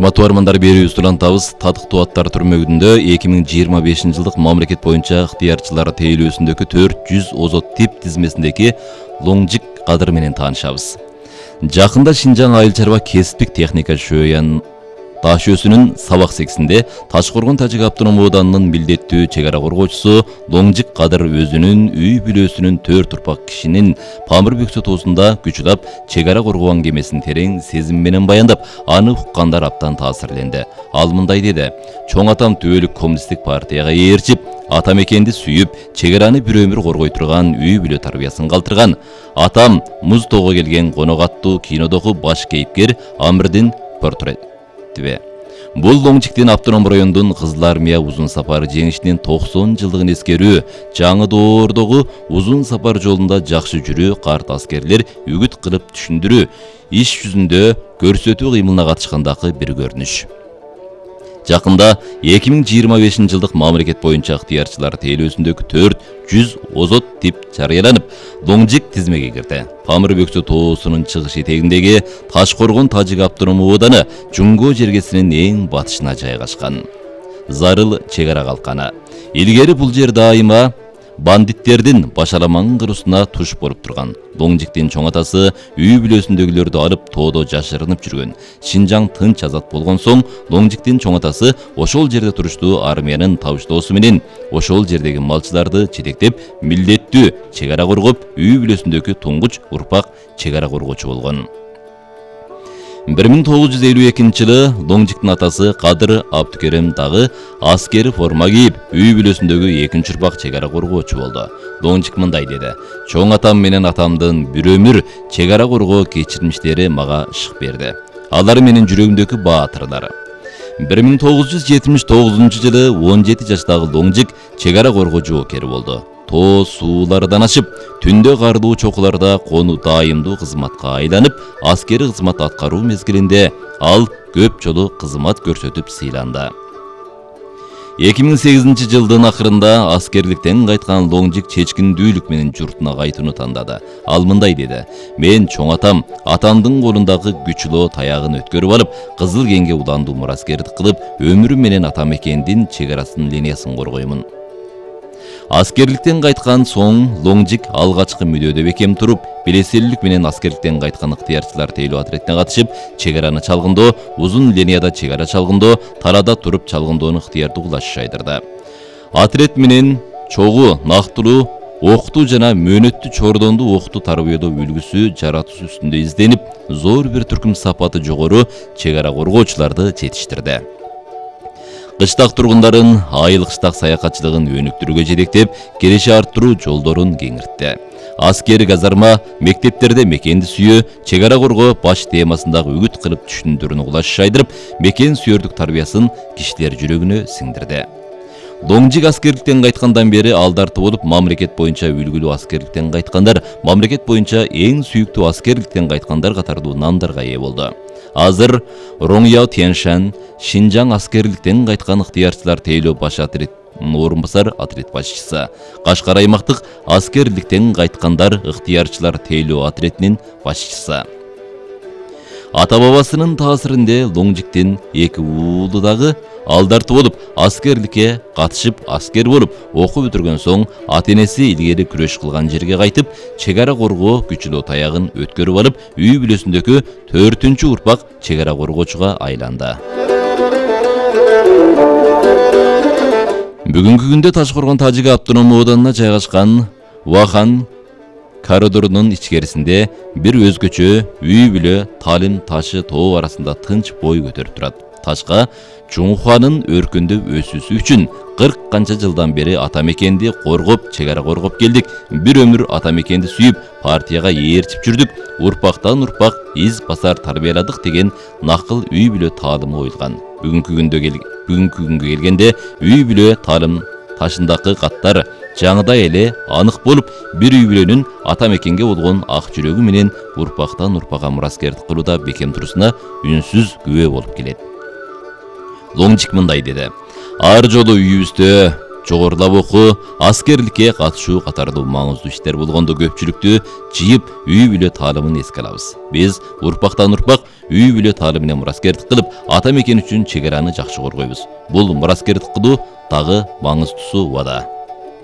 Урматтуу армандар, берүүбүз улантабыз. Татыктуу аттар түрмөгүндө 2025 жылдык мамлекет боюнча ыктыярчылар тейлөөсүндөгү 400 озот тип тизмесиндеги Лоңжик кадыр менен таанышабыз. Жакында Шинжаң айыл чарба кесиптик техника шөйөн таш өсүнүн сабак сексинде Ташкоргон Тажик автономдук ооданынын милдеттүү чек ара коргоочусу Лоңжик кадыр өзүнүн үй бүлөсүнүн 4 турпак кишинин Памыр бөксө тоосунда күчүлап чек ара коргогон кемесин терең сезим менен баяндап, аны уккандар абдан таасирленди. Ал мындай деди: "Чоң атам түбөлүк коммунисттик партияга ээрчип, ата мекенди сүйүп, чек араны бир өмүр коргой турган үй бүлө тарбиясын калтырган. Атам муз тоого келген конок аттуу кинодогу баш кейипкер Амирдин портрети. Бул Лоңжиктин автономдук райондун Кызыл Армия узун сапар жеңишинин 90 жылдыгын эскерүү, жаңы доордогу узун сапар жолунда жакшы жүрүү, карт аскерлер үгүт кылып түшүндүрүү, иш жүзүндө көрсөтүү кыймылына катышкандагы бир көрүнүш. Жакында 2025 жылдык мамлекет боюнча ыктыярчылар тейлөөсүндөгү 400 озот тип жарыяланып, Лоңжик тизмеге кирди. Памыр бөксө тоосунун чыгыш этегиндеги Ташкоргон Тажик автономдук ооданы Жуңго жергесинин эң батышына жайгашкан. Зарыл чек ара калканы. Илгери бул жер дайыма бандиттердин башаламан кыруусуна туш болуп турган. Лоңжиктин чоң атасы үй бүлөсүндөгүлөрдү алып тоодо жашырынып жүргөн. Шинжаң тынч азат болгон соң Лоңжиктин чоң атасы ошол жерде туруштуу армиянын табыштоосу менен ошол жердеги малчыларды жетектеп, милдеттүү чек ара коргоп, үй бүлөсүндөгү туңгуч урпак чек ара коргоочу болгон. 1952 жылы Лоңжиктин атасы Кадыр Абдукерим дагы аскери форма кийип, үй бүлөсүндөгү экинчи урпак чек ара коргоочу болду. Лоңжик мындай деди: "Чоң атам менен атамдын бир өмүр чек ара коргоо кечирмиштери мага шык берди. Алар менин жүрөгүмдөгү баатырлар." 1979 жылы 17 жаштагы Лоңжик чек ара коргоо жоокери болду. Тоо суулардан ашып, түндө карлуу чокуларда кону дайымдуу кызматка айланып, аскери кызмат аткаруу мезгилинде ал көп жолу кызмат көрсөтүп сыйланды. 2008 жылдын акырында аскерликтен кайткан Лоңжик чечкиндүүлүк менен журтуна кайтууну тандады. Ал мындай деди: "Мен чоң атам, атамдын колундагы күчүлөө таягын өткөрүп алып, Кызыл кеңге уландуу мураскердик кылып, өмүрүм менен ата мекендин чек арасынын линиясын коргоймун." Аскерликтен кайткан соң Лоңжик алгачкы мүдөөдө бекем туруп, белеселүүлүк менен аскерликтен кайткан ыктыярчылар тейлөө отрядына катышып, чек араны чалгындоо, узун линияда чек ара чалгындоо, талаада туруп чалгындоону ыктыярдуу кылаш жайдырды. Отряд менен чогуу, нактылуу окутуу жана мөөнөттүү чордондуу окутуу тарбиялоо үлгүсү жаратуу үстүндө изденип, зор бир түркүм сапаты жогору чек ара коргоочуларды жетиштирди. Кыштак тургундарын айыл кыштак саякатчылыгын өнүктүрүүгө жетектеп, киреше арттыруу жолдорун кеңиртти. Аскери казарма, мектептерде мекенди сүйөө, чек ара коргоо баш темасындагы үгүт кылып түшүндүрүүнү кулаш жайдырып, мекен сүйөрдүк тарбиясын кишилер жүрөгүнө сиңдирди. Лоңжик аскерликтен кайткандан бери алдарты болуп, мамлекет боюнча үлгүлүү аскерликтен кайткандар, мамлекет боюнча эң сүйүктүү аскерликтен кайткандар катардуу намдарга ээ болду. Азыр Роңяо Тяньшань Шинжаң аскерликтен кайткан ыктыярчылар тейлөө баш отрядынын орун басар отряд башчысы, Кашкар аймактык аскерликтен кайткандар ыктыярчылар тейлөө отрядынын башчысы. Ата-бабасынын таасиринде Лоңжиктин эки уулу дагы алдарты болуп, аскерликке катышып, аскер болуп, окуп бүтүргөн соң ата-энеси илгери күрөш кылган жерге кайтып, чек ара коргоо күчүлөө таягын өткөрүп алып, үй бүлөсүндөгү 4-чү урпак чек ара коргоочуга айланды. Бүгүнкү күндө Ташкоргон Тажик автономдук ооданына жайгашкан Вахан коридорунун ичкерисинде бир өзгөчө үй бүлө Талим ташы тоо арасында тынч бой көтөрүп турат. Ташка Жуңхуанын өркүндөп өсүүсү үчүн 40 канча жылдан бери ата мекенди коргоп, чек ара коргоп келдик. Бир өмүр ата мекенди сүйүп, партияга ээрчип жүрдүк. Урпактан урпак из басар тарбияладык деген накыл үй бүлө таалымы коюлган. Бүгүнкү күнгө келгенде үй бүлө таалым ташындагы каттар жаңыдай эле анык болуп, бир үй бүлөнүн ата мекенге болгон ак жүрөгү менен урпактан урпага мураскердик кылууда бекем турусуна үнсүз күбө болуп келет. Лоңжик мындай деди: "Ар жолу үйүбүздө жогорулап окуу, аскерликке катышуу катардуу маңыздуу иштер болгондо көпчүлүктү жыйып үй бүлө таалымын эске алабыз. Биз урпактан урпак үй бүлө таалы менен мураскердик кылып, ата мекен үчүн чек араны жакшы коргойбуз. Бул мураскердик кылуу дагы маңыздуусу убада.